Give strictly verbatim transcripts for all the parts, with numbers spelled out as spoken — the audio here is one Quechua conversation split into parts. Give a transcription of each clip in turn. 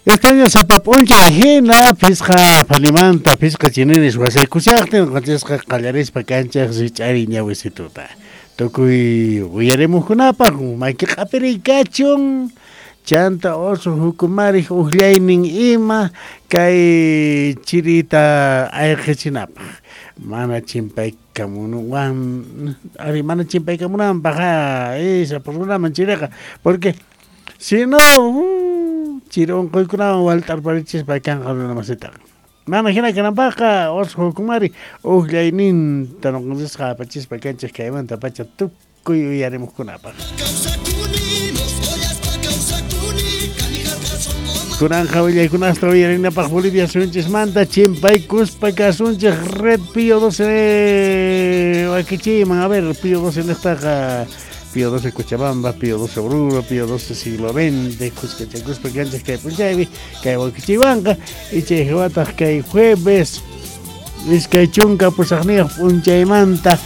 Estaña sapa p'unchay hina phisqa phanimanta phisqa chininis wasaykushaqtin qanchisqa qallarispa kanchaq rich'ari ñawisituta. Tukuy uyarimuqkunapaq maki q'apiriy kachun chanta oso hukumariq uqllaynin ima kay chirita ayqichinapaq mana chimpaykamunuwan ari mana chimpaykamunanpaq sapa runaman chiriqa porque si no uh, chiri unquykunawan walt'arparichispa kanqa runa masitaqa. Mana hina kananpaqqa oso hukumari uqllayninta nuqanchisqa apachispa kanchik kaymanta pacha tukuy uyarimuqkunapaq. Kunanqa willaykunasta uyarinapaq Bolivia suyunchismanta chimpaykuspa kasunchik Red Pío doce wakichiyman. A ver, Pío doce niqtaqa Pío doce Cochabamba, Pío doce Oruro, Pío doce siglo veinte, kuskachakuspa kanchik kay p'unchaypi kay wakichiywanqa y chay hawataq kay jueves iskay chunka pusaqniyuq p'unchaymanta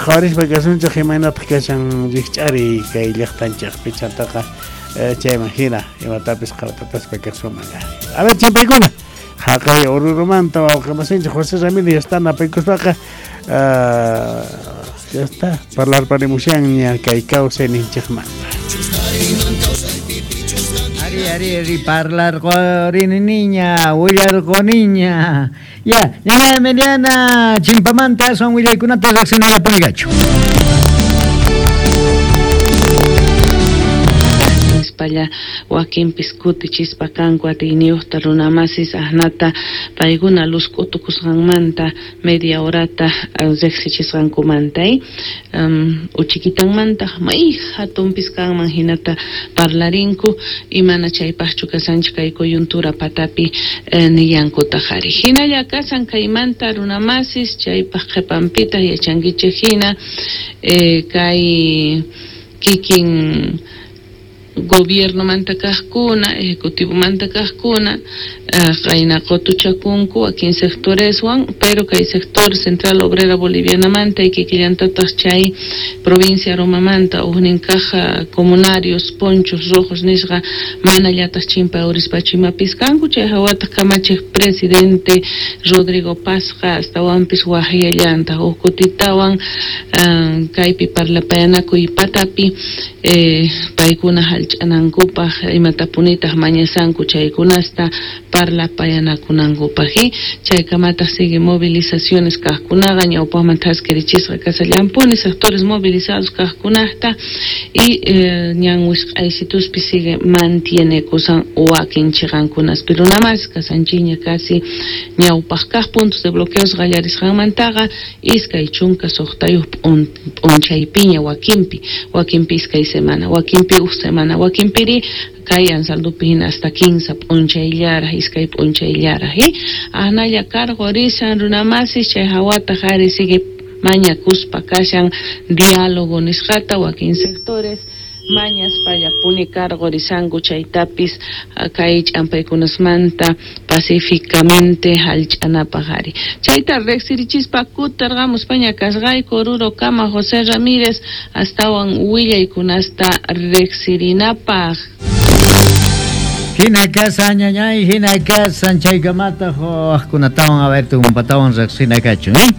qhawarispa kasunchik imaynataq kashan rikch'ari kay llaqtanchikpi chantaqa chayman hina imatapis qhawatataspa kasuman. A ver, chimpaykuna haqay Orurumanta wawqimasinchik José Ramírez ya está napaykuspaqa ya está parlarparimushanña kay kawsayninchikmanta. Ari, ari, ari, parlarqorini niña, willarqoniña. Ya, ña Emiliana, chimpamanta aswan willaykunata riqsinallapuni kachu. Nispalla wakinpis kutichispa kanku atiyniyuqta runamasis ahnata paykuna luz k'utukusqanmanta media horata riqsichisqankumanta um, uchikitanmanta may hatunpis kanman hinata parlarinku y mana chaypaqchu kasanchik kay coyuntura patapi eh, nillankutaq ari hinalla kasan kaymanta runamasis chaypaq qhipanpitaq yachankichik hina eh, kay kikin gobierno manta kaqkuna, ejecutivo manta kaqkuna, qayna qutuchakunku wakin sectoreswan, pero kay sector Central Obrera Boliviana manta y kikillantataq chay provincia Romamanta huknin kaq comunarios ponchos rojos nisqa mana llataq chimpa urispachu imapis kanku chay hawataq kamachiq presidente Rodrigo Pazqa astawanpis waqyallantaq huk kutitawan kaypi parlapayanakuy patapi eh, paykuna hallch'anankupaq imatapunitaq mañasanku chaykunasta parlapayanakunankupaq chaykamataq sigue movilizaciones kaqkunaqa ñawpaqman thaskirichisqa kasallampuni sectores movilizados kaqkunaqta y eh, ñan wisq'aysituspi sigue mantiene kusan wakin chiqankunaspi runamas kasanchiña casi ñawpaq kaq puntos de bloqueos qallarisqanmantaqa iskay chunka suqtayuq p'unchaypiña wakinpi wakinpi iskay semana wakinpi huk semana wakinpiri kay Anzaldupi hina hasta quince p'unchayllaraq iskay p'unchayllaraq ahnalla karqu risan runamasis chay hawataq ari sigue mañakuspa kashan diálogo nisqata wakin sectores mañaspallapuni karqu risanku chaytapis kay ch'ampaykunasmanta pacíficamente hallch'anapaq ari chayta riqsirichispa kutirqamuspaña kasqayku Oruro kama José Ramírez astawan willaykunasta riqsirinapaq. Hina kasa ñañay, hina kasa chaykamata waqkunatawan a ver tumpatawan riqsina kachun, ¿eh?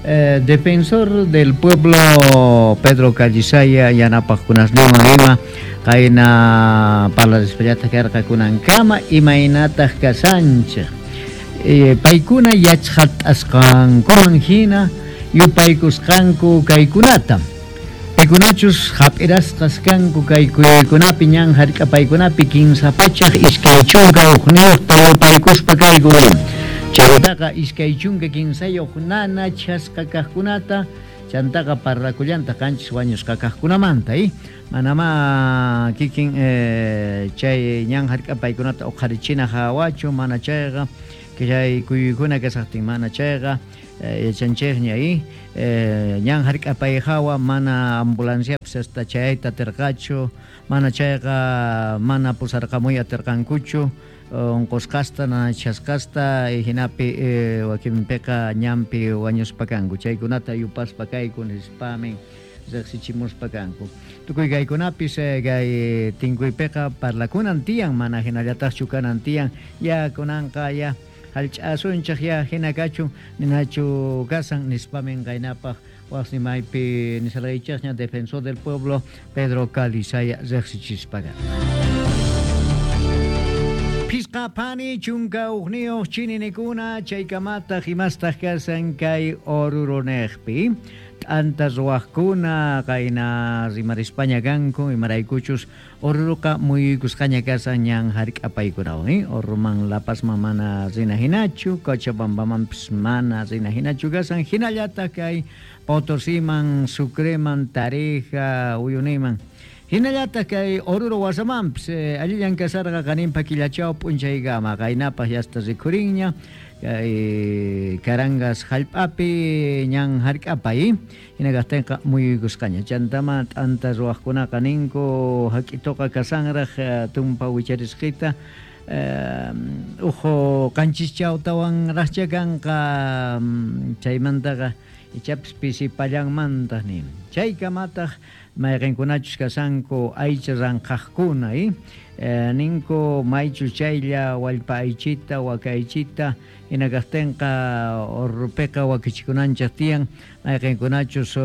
Eh, defensor del pueblo Pedro Callisaya yanapaqkunasninwan ima qayna parlarispallataq karqakunankama imaynataq kasanchik eh, paykuna yachqat'asqankuman hina yupaykusqanku kaykunata paykunachus hap'irasqas kanku kay kuyaykunapi ñan hark'apaykunapi kinsa pachaq iskay chunka hukniyuqta yupaykuspa kayku chantaqa iskay chunka kinsayuq nana chasqa kaqkunata chantaqa parlakullantaq qanchis wañusqa kaqkunamanta eh? Manama kikin eh, chay ñan hark'apaykunata uqharichina hawachu mana chayqa chay kuyuykuna kasaqtin mana chayqa eh, yachanchikña eh, ñan hark'apay hawa mana ambulanciapis hasta chayta atirqachu mana chayqa mana pusarqamuy atirqankuchu unqusqasta nanachasqasta hinapi eh, wakinpiqa ñanpi wañuspa kanku chaykunata yupaspa kayku nispamin riqsichimuspa kanku. Tukuy kaykunapis kay tinkuypiqa parlakunan tiyan, mana hinallataqchu kanan tiyan, ya kunanqa ya hallch'asunchik ya hina kachun ninachu kasan nispamin qaynapaq waqsimaypi nisarqaychikña defensor del pueblo Pedro Calizaya riqsichispaqa. Pisqa pani chunka uqniyuq chininikuna chaykamataq imastaq kasan kay Oruroniqpi t'anta ruwaqkuna qayna rimarispaña kanku imaraykuchus Oruruqa muyuykusqaña kasan ñan hark'apaykunawan eh? Oruman La Pazman mana rina hinachu, Cochabambamanpis mana rina hinachu kasan hinallataq kay Potosiman, Sucreman, Tarija, Uyuniman. Hinallataq kay Oruro wasamanpis eh, allillan kasarqa qaninpa killachaw p'unchaykama qaynapaq yasta rikhurinña kay Carangas hallp'api ñan hark'apay hina kaqtinqa muyuykusqaña chantama t'anta ruwaqkunaqa ninku hak'ituqa kasanraq tumpa wicharisqita eh, uhu qanchischawtawan raqcha kanqa chaymantaqa ichapis pisipallanmantaq nin chaykamataq mayqinkunachus kasanku aycha ranqaqkuna eh? Eh, ninku maychu chaylla wallpa aychita waka aychita hina kaqtinqa Orurupiqa wakichikunanchik tiyan mayqinkunachus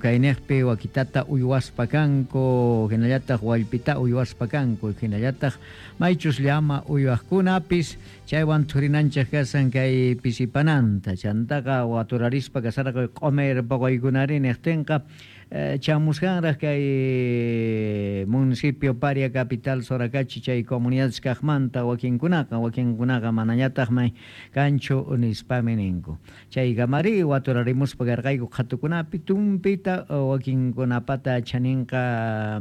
kayniqpi wakitata uywaspa kanku hinallataq wallpita uywaspa kanku hinallataq maychus llama uywaqkunapis chaywan thurinanchik kasan kay pisipananta chantaqa waturarispa kasarqa q'umir puquykunari niqtinqa eh, chamusqanraq kay municipio Paria capital Soracachi chay comunidades kaqmanta wakinkunaqa wakinkunaqa manañataqmi kanchu nispami ninku chaykamari waturarimuspa karqayku qhatukunapi tumpita wakinkunapata chaninqa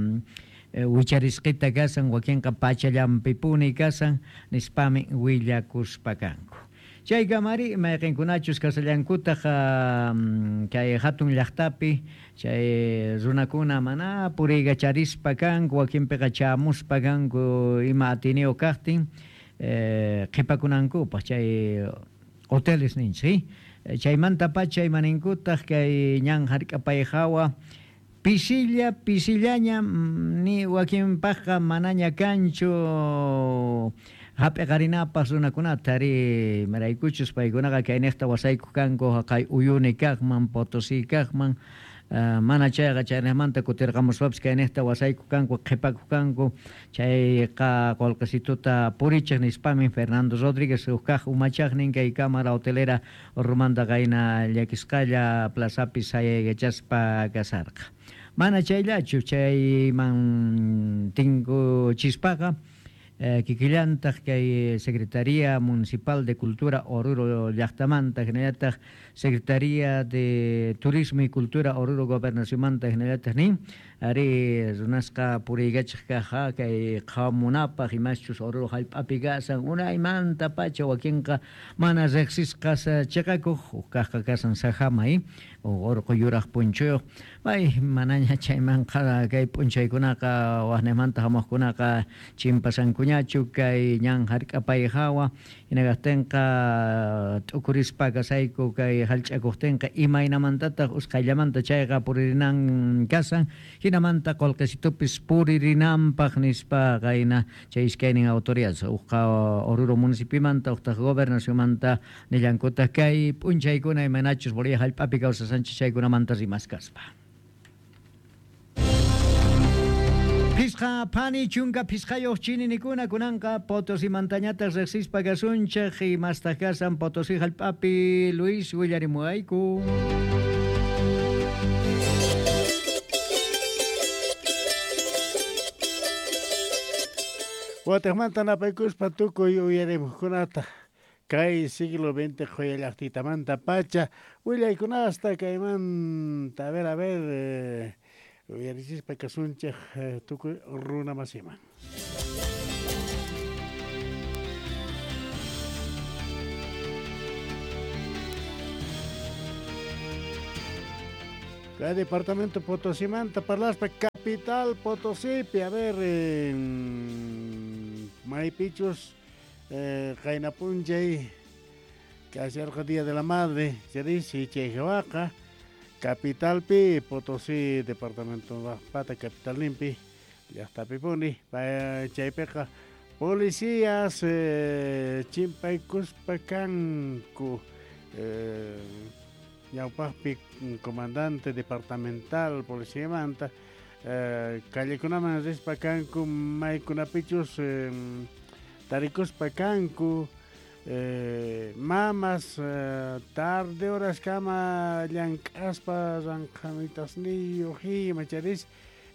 wicharisqita kasan wakinqa pachallanpipuni kasan nispami willakuspa kanku. Chaykamari mayqinkunachus kasallankutaq kay hatun llaqtapi chay runakuna mana puriykacharispa kanku wakinpiqa chamuspa kanku ima atiniyuq kaqtin eh, qhipakunankupaq chay hoteles ninchik chaymanta pacha imaninkutaq kay ñan hark'apay hawa pisilla pisillaña ni wakinpaqqa manaña kanchu hap'iqarinapaq runakunata ari maraykuchus paykunaqa kayniqta wasaykuq kanku haqay Uyuni kaqman Potosí kaqman uh, mana chayqa chayniqmanta kutirqamuspapis kayniqta wasaykuq kanku qhipakuq kanku chayqa qullqisituta purichiq nispami Fernando Rodríguez huk kaq umachaqnin kay cámara hotelera Orurumanta qayna llakisqalla plazapi sayaykachaspa kasarqa. Mana chayllachu chayman tinkuchispaqa Eh, kikillantaq kay Secretaría Municipal de Cultura Oruro llaqtamanta hinallataq Secretaría de Turismo y Cultura Oruro Gobernacionmanta hinallataq nin ari runasqa puriykachiq kaq kay qhamunapaq imaschus Oruro hallp'api kasan unaymanta pacha wakinqa mana riqsisqas chiqakuq huk kaqqa kasan sajama eh? Urqu yuraq punchuyuq may manaña chaymanqa kay p'unchaykunaqa waqnimanta hamuqkunaqa chimpasanku ñachu kay ñan hark'apay hawa hinaqtinqa t'ukurispa kasayku kay hallch'akuqtinqa imaynamantataq usqhayllamanta chayqa puririnan kasan hinamanta qullqisitupis puririnanpaq nispa qayna chay iskaynin autoridades uqqa Oruro municipimanta uqtaq gobernacionmanta nillankutaq kay p'unchaykuna imaynachus Bolivia hallp'api kawsasanchik chaykunamanta rimaskaspa. Pisqa pani chunka pisqayuq chininikuna kunanqa Potosimantañataq riqsispa kasunchik imastaq kasan Potosí hallp'api Luis willarimuwayku. Wataqmanta napaykuspa tukuy uyarimuqkunata kay siglo veinte qhuya llaqtitamanta pacha willaykunasta kaymanta a ver a ver eh, uyarichispa kasunchik tukuy runa masiman. Kay departamento Potosimanta parlaspa capital Potosípi a ver eh, maypichus eh, qaynapunchay kasharqa Día de la Madre chaysi chay hawaqa Capitalpi Potosí departamento pata capital limpi llaqtapipuni chaypiqa policías eh, chimpaykuspa kanku eh, ñawpaqpi comandante departamental policiamanta eh, callekunaman rispa kanku maykunapichus eh, tarikuspa kanku eh, mamas eh, tarde horas kama llank'aspa ranqhamitasniyuq ima charis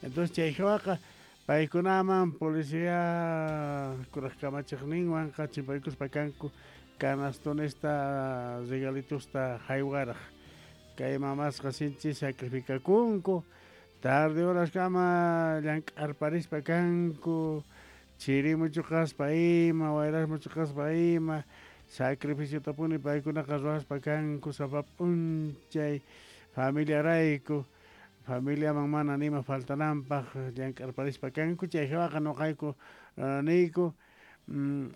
entonces chayhawaqa paykunaman policía kuraq kamachiqninwanqa chimpaykuspa kanku canastonesta regalitusta haywaraq kay mamasqa sinchi sacrificakunku tarde horas kama llank'arparispa kanku chiri muchuqaspa ima wayras muchuqaspa ima sacrificiotapuni paykunaqa ruwaspa kanku sapa p'unchay familiarayku familiaman mana nima faltananpaq llank'arparispa kanku chayhawaqa nuqayku uh, niyku mm,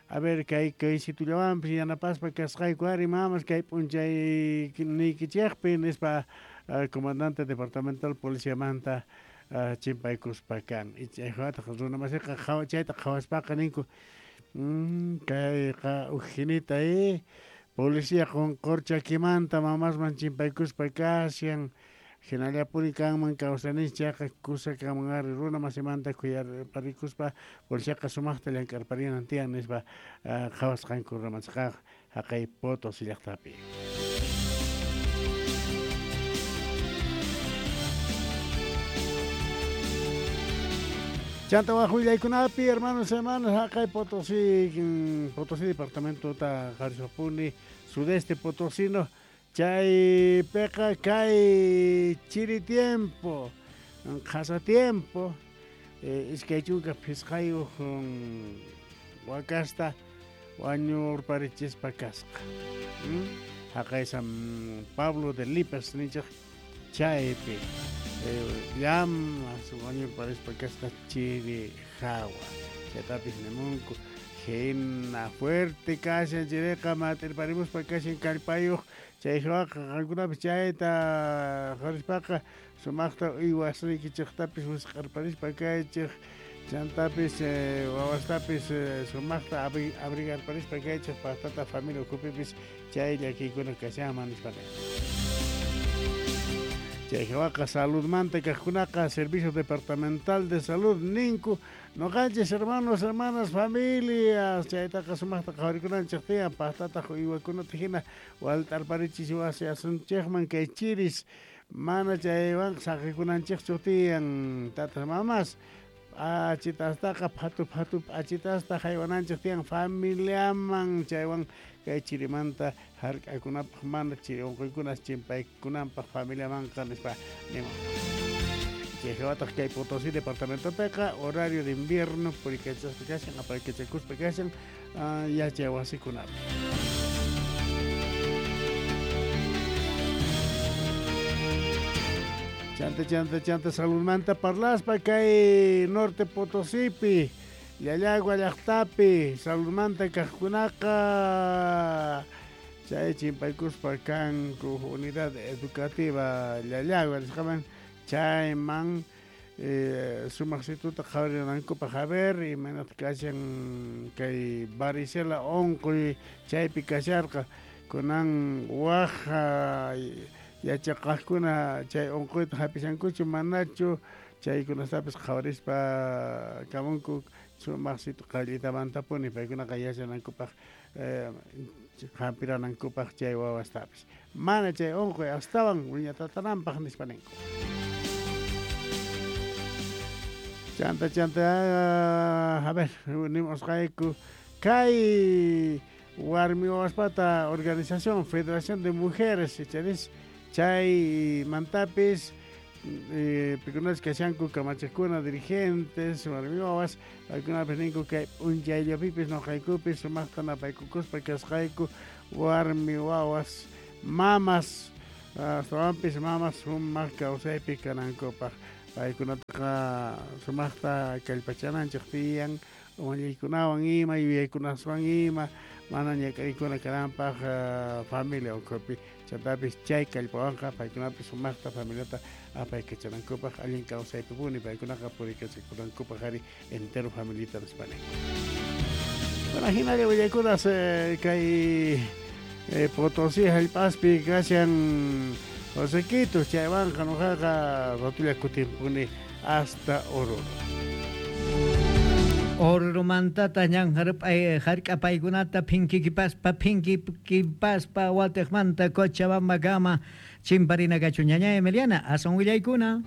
a ver kay kay situllawanpis yanapaspa kasqayku ari mamas kay p'unchay niykichikpi nispa uh, comandante departamental policiamanta uh, chimpaykuspa kan chayhawataq runamasiqa qhawa chayta qhawaspaqa ninku mm, kayqa ujinita eh policía qunqurchakimanta mamasman chimpaykuspa kashan hinallapuni kanman kawsaninchik chayqa kusa kanman ari runa masimanta khuyarparikuspa policiaqa sumaqta llank'arparinan tiyan nispa uh, qhawasqanku runamasqa haqay Potosí llaqtapi. Chanta waq willaykunapi hermanos hermanas haqay Potosí Potosí departamentota qharisapuni sudeste potosino chaypiqa kay chiri tiempo qhasa tiempo eh, iskay chunka phisqayuq um, wakasta wañurparichispa kasqa hmm? Haqay San Pablo de Lipas ninchik chaypi eh, llamas wañurparispa kasqa chiri hawa chaytapis nimunku hina fuerte kashan chiriqa matirparimuspa kashan kallpayuq chayhawaqa qankunapis chayta qarispaqa sumaqta uywasniykichiqtapis wisq'arparispa kaychik chantapis eh, wawastapis eh, sumaqta abrigarparispa kaychik paqtata familia ukhupipis chay llakiykuna kashanman nispa. Chayhawaqa saludmanta kaqkunaqa Servicio Departamental de Salud ninku noqanchis hermanos, hermanas, familias chaytaqa sumaqta qhawarikunanchik tiyan paqtataq uywakunata hina walt'arparichis wasi asunchikman kay chiris mana chaywanqa saqikunanchikchu tiyan tatas mamas p'achitastaqa phatu phatu p'achitasta haywananchik tiyan familiaman chaywan kay chirimanta hark'akunapaq mana chiri unquykunas chimpaykunanpaq familiamanqa nispa niman. Chayhawataq kay Potosí departamentopiqa horario de invierno purikachaspa kashan apaykachakuspa kashan uh, yachay wasikunapi. Chanta chanta chanta saludmanta parlaspa kay norte Potosípi Llallagua llaqtapi saludmanta kaqkunaqa chay chimpaykuspa kanku unidad educativa Llallagua nisqaman chayman eh, sumaqsituta qhawarinankupaq a ver imaynata kashan kay varicela unquy chaypi kasharqa kunan waq yachaqaqkuna chay unquyta hapishankuchu manachu chaykunastapis qhawarispa kamunku sumaqsitu qallitamantapuni paykunaqa yachanankupaq eh, hampiranankupaq chay wawastapis mana chay unquy astawan wiñatatananpaq nispa ninku. Chanta chanta a ver nimusqayku kay warmi wawaspata organización Federación de Mujeres charis chay mantapis eh, pikunas kashanku kamachiqkuna dirigentes warmi wawas paykunapis ninku kay p'unchayllapipis nuqaykupis sumaqta napaykukuspa kasqayku warmi wawas mamas astawanpis mamas sumaq kawsaypi kanankupaq paykunataqa sumaqta kallpachananchik tiyan umallaykunawan ima yuyaykunaswan ima mana ñak'ariykuna kananpaq uh, familia ukhupi chantapis chay kallpawanqa paykunapis sumaqta familiata apaykachanankupaq allin kawsaypipuni paykunaqa puriykachakunankupaq ari entero familita nispani. Bueno, hinalla willaykunas eh, kay eh, Potosí hallp'aspi kashan Josequitos chaywanqa nuqaqa ratulla kutimpuni hasta Oruro. Orurumantata ñan hark'apaykunata phinkikipaspa phinkikipaspa watiqmanta Cochabambakama chimparina kachu ñaña Emiliana aswan willaykuna.